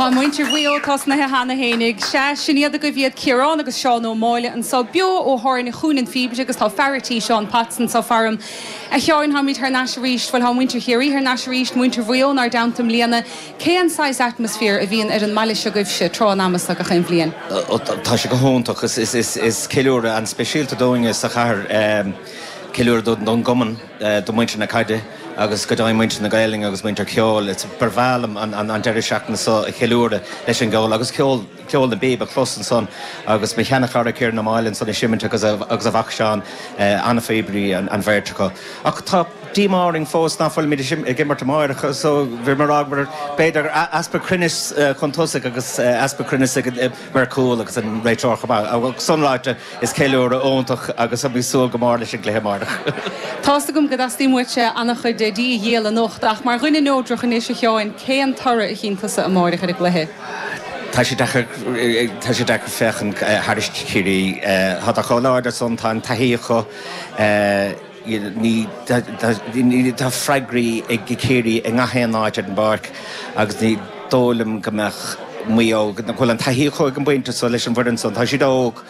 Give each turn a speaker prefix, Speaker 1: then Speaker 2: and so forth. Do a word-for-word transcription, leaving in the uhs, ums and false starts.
Speaker 1: Tá muintir Mhaigh Eo tosnaithe cheana fhéinig sé sin iad go bhíad Ciarán agus Seán Ó Máille anseo beo ó tháirne chuan an Phíobaire agus tá fear an tí Seán Patson sa farm. A Sheáin táimid thar n-ais arís, bhuel tá muintir Chiarraí thar n-ais arís muintir Mhaigh Eo inár dteannta i mbliana, cén saghas atmaisféar a bhíonn ar an mbaile seo agaibhse tráth an ama seo gach aon bhliain.
Speaker 2: Tá sé go hiontach is is is is ceiliúradh an-speisialta dúinne sa chathair ceiliúradh don gcumann do muintir na caide agus go deimhin muintir na Gaeilge agus muintir ceoil. It's ba bhreá liom an, an, an deireadh seachtaine seo a cheiliúradh leis an gceol agus ceol ceol na bpíob a chlos ansan agus mo sheanchara Ciarán Ó Máille ansan ag seimint agus a, agus a mhac Seán an-phíobairí an, an bheirt acu. Ach tá díomá orainn fós ná fuilimid ag imirt amárach so bhí mar mar b'fhéidir easpa cruinnis chun tosaigh agus easpa cruinnis ag mar cúl agus an réiteoir chomh sin ráite is ceiliúradh iontach agus bhí súil go mór leis an gcluiche amárach.
Speaker 1: Tá's agam go dteastaíonn uaitse an-chuid dí a dhíol anocht ach mar dhuine neodrach anois a Sheáin cén toradh a chíonn tusa amárach ar an gcluiche.
Speaker 2: Tá sé tá sé deacair féachaint thar Chiarraí Tá chomh láidir san tá an taithí acu ní tá freagraí ag Ciarraí i ngach aon áit ar an bpáirc agus ní dóigh liom go mbeadh Maigh Eo bhfuil an taithí acu ag an bpointe so leis an bhfoireann san tá siad óg